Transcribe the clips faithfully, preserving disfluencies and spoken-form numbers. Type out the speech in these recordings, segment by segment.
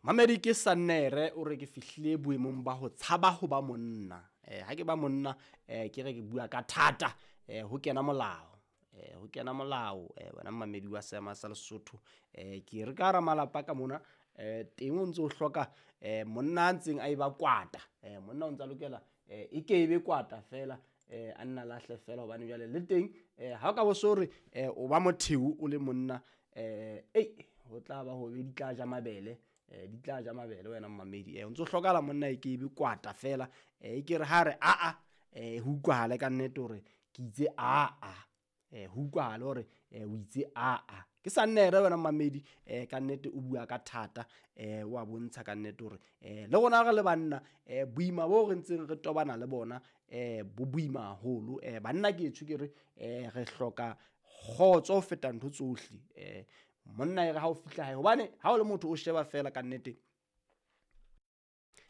Mamedi ke Sannere o re ke fihlile boemong ba ho tshaba ho ba monna. Eh ha ke ba monna eh ke re ke bua ka thata eh ho kena molao. Eh ho kena molao eh wena mamedi wa seema sa Lesotho eh ke re ka hara malapa ka mona eh teng o ntso o hloka eh monna a ntseng a e ba kwata. Eh monna o ntsa lokela eh e ke ebe kwata fela eh a nna lahle fela hobane jwale le teng eh ha o ka bo so re eh o ba motheo o le monna eh ei ho tla ba hobe di tla ja mabele eh di tla ja mabele wena mmamedi eh o ntso hlokahala monna e ke ebe kwata fela eh e ke re ha re a a eh ho utlwahale ka nnete hore ke itse a a eh ho utlwahale hore eh o itse a a ke Sannere wena mmamedi eh ka nnete o bua ka thata eh wa bontsha ka nnete hore eh le rona re le banna eh boima bo re ntseng re tobana le bona eh bo boima haholo eh banna ke etsho ke re eh re hloka kgotso ho feta ntho tsohle eh monna e re ha o fihla hae hobane ha o le motho o sheba fela ka nnete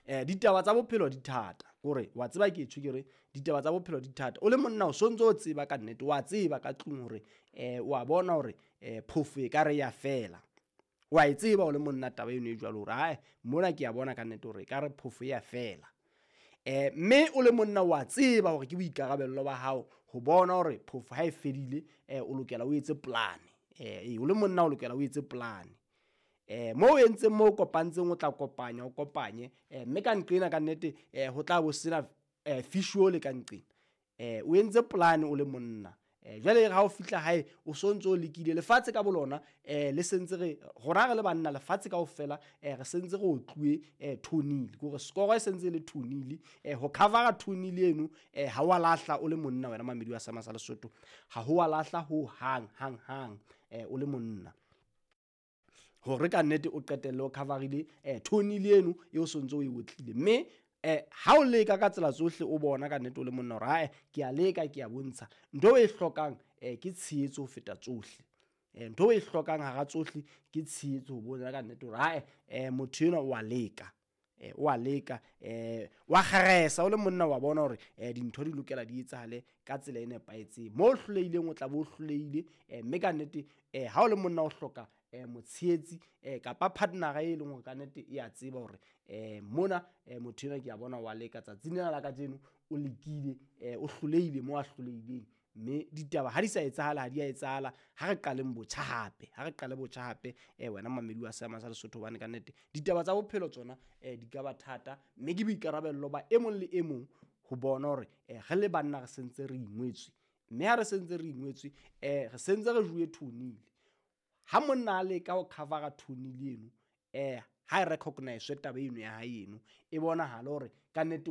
eh ditaba tsa bophelo di thata kore wa tseba ke etsho ke re ditaba tsa bophelo di thata o le monna o sontso o tseba ka nnete wa tseba ka tlung hore eh wa bona hore eh phofo e ka re ya fela wa e tseba o le monna taba eno e jwalo hore hae mona ke a bona ka nnete hore e ka re phofo ya fela eh mme o le monna wa tseba hore ke boikarabello ba hao ho bona hore phofo ha e fedile eh o lokela o etse plan eh o le monna o lokela o etse plan eh mo o entseng mo o kopantseng o tla kopanya o kopanye eh mme ka nqena ka nnete eh ho tla bo sena eh fish ole ka nqena eh o entse plan o le monna eh jwale ha o fihla hae o sontso o lekile lefatshe ka bolona eh le sentse re rona re le banna lefatshe kaofela eh re sentse re otluwe eh two nil kore score e sentse le two nil eh ho covera two nil eno eh ha wa lahla o le monna wena mamedi wa Seema sa Lesotho ha ho wa lahla ho hang hang hang eh o le monna hore ka nnete o qetelle o coverile eh two nil eno e o sontso o e otlile mme eh ha o leka ka tsela tsohle o bona ka nnete o le monna hore hae ke a leka ke a bontsha ntho e hlokang eh ke tshehetso ho feta tsohle eh ntho e hlokang hara tsohle ke tshehetso ho bona ka nnete hore hae eh motho enwa wa leka eh wa leka eh wa kgeresa o le monna wa bona hore eh dintho di lokela di etsahale ka tsela e nepahetseng mo hlolehileng o tla bo hlolehile eh mme ka nnete eh ha o le monna o hloka eh motshehetsi eh kapa partnera e leng hore ka nnete e a tseba hore eh mona eh motho enwa ke a bona wa leka tsatsing lena la kajeno o lekile eh o hlolehile mo a hlolehileng mme ditaba ha di sa etsahala ha di a etsahala ha re qaleng botjha hape ha re qale botjha hape eh wena mamedi wa Seema sa Lesotho hobane ka nnete ditaba tsa bophelo tsona eh di ka ba thata mme ke boikarabello ba e mong le e mong ho bona hore eh re le banna re sentse re ingwetswe mme ha re sentse re ingwetswe eh re sentse re juwe two nil ha monna a leka ho covera two nil eno eh ha e recognize taba eno ya hae eno e bonahala hore ka nnete